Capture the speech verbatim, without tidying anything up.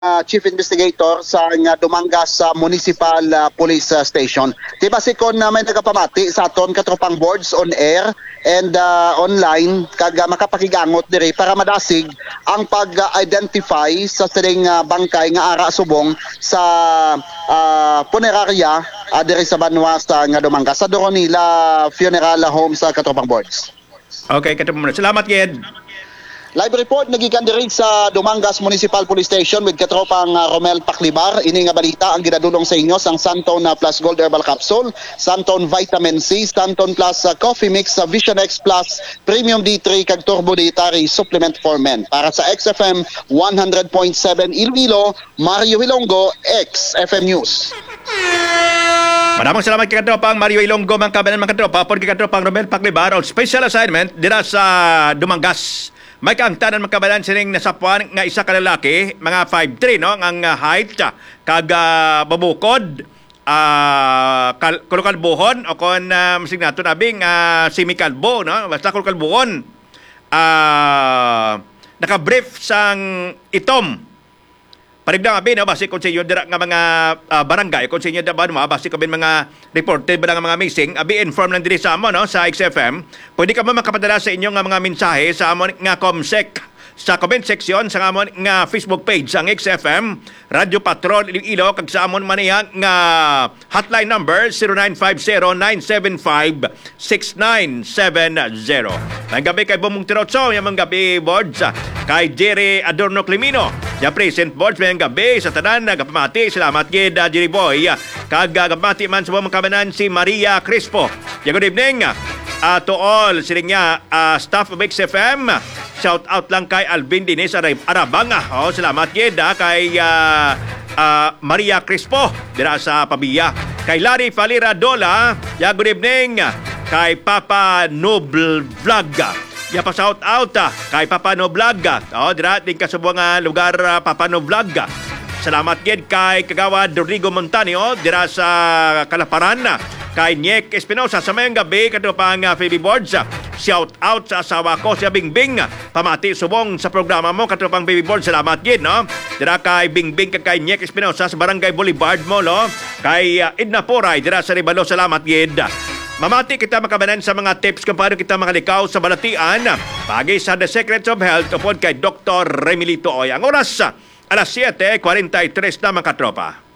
ah, chief investigator sa nga Dumangas sa Municipal, ah, Police, ah, Station. Di ba si kon, ah, may nagapamati sa aton katropang boards on air and, ah, online kag, ah, makapakigangot diri para madasig ang pag-identify sa sining, ah, bangkay nga ara subong sa, ah, punerarya, ah, diri sa banwa sa nga Dumangas sa Doronila Funeral Home sa katropang boards. Okay, katapos mo na. Salamat, Gid. Live report nagikan diri sa Dumangas Municipal Police Station with katropang, ah, Romel Paklibar. Ini nga balita ang ginadulong sa inyo sang Santon, ah, Plus Gold Herbal Capsule, Santon Vitamin C, Santon Plus, ah, Coffee Mix, sa Vision X Plus Premium D three kag Turbo Dietary Supplement for Men. Para sa X F M one hundred point seven Iloilo, Mario Hilonggo, X F M News. Madamong salamat kay katropang Mario Ilonggo, mga kabanan, mga katropa, upod kay katropang Romel Paklibar, on special assignment dira sa Dumangas. May kaangtanan, mga kabanan, sining nasapuan nga isa ka lalaki, mga five three, no, ang, ah, height, ah, kag, ah, babukod, ah, kal-, kulukalbuhon, o kon, ah, masig nato nabing, ah, semikalbo, no, basta kulukalbuhon, ah, nakabrief sang itom. Parigda nga, abi, no, basi kung sa inyo dira nga mga, ah, barangay, kung sa inyo dira ba, no, basi kung may mga reported ba nga mga missing, abi, inform lang diri sa amo, no, sa X F M. Pwede ka mo makapadala sa inyo nga mga mensahe sa amon nga comsec sa comment section sa amon nga Facebook page, ang X F M Radio Patrol Iloilo, kag sa amon man iya nga hotline number, zero nine five zero nine seven five six nine seven zero. May gabi kay Bumong Tirotso, may gabi, Boards, kay Jerry Adorno Climino. Ya present, Boards, may gabi sa tanan, nagapamati. Salamat gid, ah, Jerry Boy. Kag, ah, gapamati man sa mga kabanan si Maria Crispo. Ya, good evening, ah, to all, siling niya, ah, staff of X F M. Shout out lang kay Alvin Dines Arab-, Arabanga. Oh, salamat gid, ah, kay, ah, ah, Maria Crispo dira sa Pavia. Kay Larry Falira Dola, ya, good evening. Kay Papa Noble Vlog. Ya pa shout out, ah, kay Papa Noble Vlog. Oh, dira din ka sa mga lugar, ah, Papa Noble Vlog. Salamat gid kay Kagawad Rodrigo Montanio dira sa Kalaparan. Kay Nick Espinosa sa mayong gabi, katropang, ah, Phoebe Boards. Shout out sa asawa ko, si Bingbing. Pamati subong sa programa mo, katropang Baby Board. Salamat gid, no? Dira kay Bingbing kag kay Nick Espinosa sa Barangay Boulevard mo, no? Kay, ah, Edna Poray, dira sa Ribalo. Salamat gid. Mamati kita, mga kabanan, sa mga tips kung paano kita makalikaw sa balatian. Pagi sa The Secrets of Health upod kay Doktor Remilito Oy. Ang oras, ah, alas siete kwarenta y tres na, mga katropa.